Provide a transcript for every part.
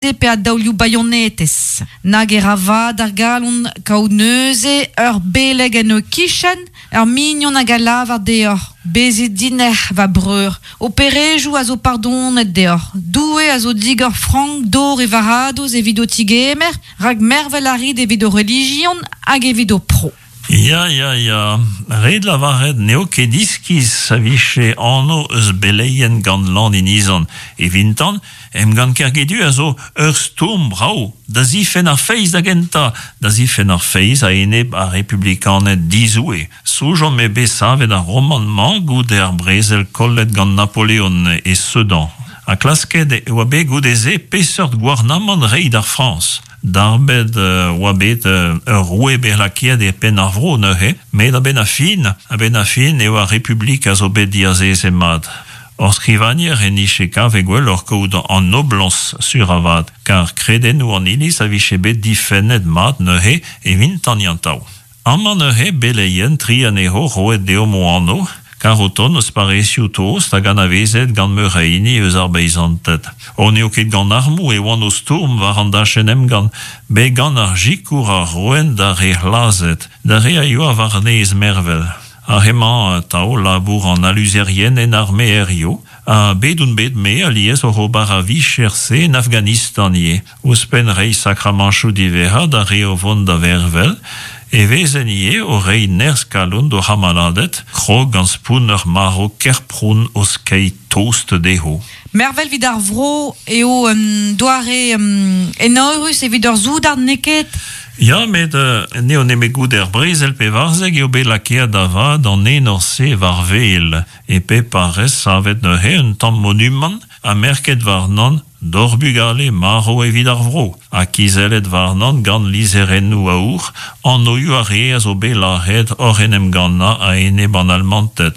Pe a daolioù baionetez. Nag e ra vad ar galon kaout neuze ur beleg en ho kichen, ur mignon hag a lavar deoc'h, Bezit dinec'h, va breur, ho perejoù a zo pardonet deoc'h, Doue a zo digor frank dor e varadoz evit ho tigemer, rak mervel a rit evit ho relijion hag evit ho pro. Ya, ya, ya, ret lavaret n'eo ket iskis a vije anv eus beleien gant Lan Inizan. Evintan, emgann Kergedu a zo ur stourm brav da zifenn ar feiz da gentañ, da zifenn ar feiz a-enep ar republikaned dizoue. Soñjomp eo bet savet ar romant-mañ goude ar brezel kollet gant Napoleon e Sedan, ha klasket e oa bet goude-se peseurt gouarnamant reiñ d'ar Frañs. Darbet oa bet ur roue bet lakaet e penn ar vro neuze, met a-benn ar fin, a-benn ar fin eo ar Republik a zo bet diazezet mat. Hor skrivagner en dije kavet gwelloc'h kaout an noblañs sur avat, kar kredennoù an Iliz a vije bet difennet mat neuze evintañ atav. Amañ neuze beleien, tri anezho roet deomp o anv, kar o tont eus parrezioù tost hag anavezet gant meur a hini eus ar beizanted. O n'eo ket gant armoù e oant o stourm war an dachenn emgann, met gant ar sikour a roent d'ar re c'hlazet, d'ar re a yoa war-nes mervel. Ar re-mañ atav labour an aluzerien en arme hiziv, ha bet on bet me alies oc'h ober ar vicher-se en Afghanistan ivez. Ouzhpenn reiñ sakramañchoù diwezhañ d'ar re o vont da vervel e vezen ivez o reiñ nerzh-kalon d'o c'hamaladed, krog gant spont ur marv ker-pront o skeiñ tost dezho. Mervel evit ar vro eo un doare enorus evit ur soudard, n'eo ket? Ya, met n'eo nemet goude ar brezel 14 eo bet lakaet da vat an enor-se war wel. E pep parrez savet neuze un tamm monumant ha merket warnan D'hor bugale marv evit ar vro, ha kizellet warnan gant lizherennoù aour anvioù ar re a zo bet lazhet oc'h en em gannañ a-enep an Almanted.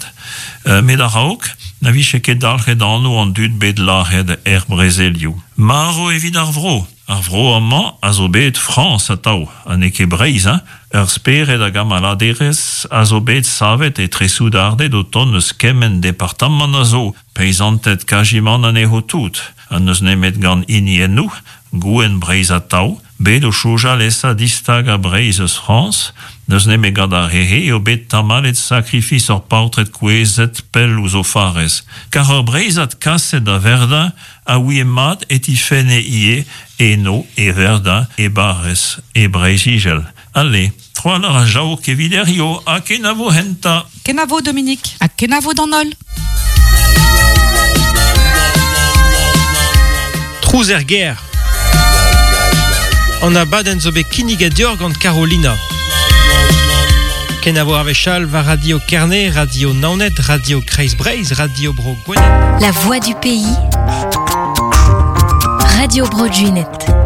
Met a-raok, na vije ket dalc'het anv an dud bet lazhet er brezelioù. Marv evit ar vro! Ar vro amañ a zo bet Frañs atav, ha n'eo ket Breizh, hein! Ur spered a gamaladerezh a zo bet savet etre soudarded o tont eus kement departamant a zo, Peizanted kazimant anezho tout, ha n'eus nemet gant hiniennoù, gouenn Breizh atav, bet o soñjal esa distagañ Breizh eus Frañs, n'eus nemet gant ar re-se eo bet tamallet sakrifis ur paotred kouezhet pell ouzh o farrez. Kar ur Breizhad kaset da Verdun a ouie mat e tifenne ivez eno e Verdun e barrez e Breizh-Izel. Ale, tro-walc'h a jaok evit hiziv ha kenavo enta. Kenavo Dominique ha kenavo d'an holl. Trouz er gêr. An abadenn zo bet kinniget deoc'h gant Carolina. Kenavo ar wech all war Radio Kerne, Radio Naoned, Radio Kreiz Breizh, Radio Bro Gwened. La voix du pays. Radio Bro Gwened.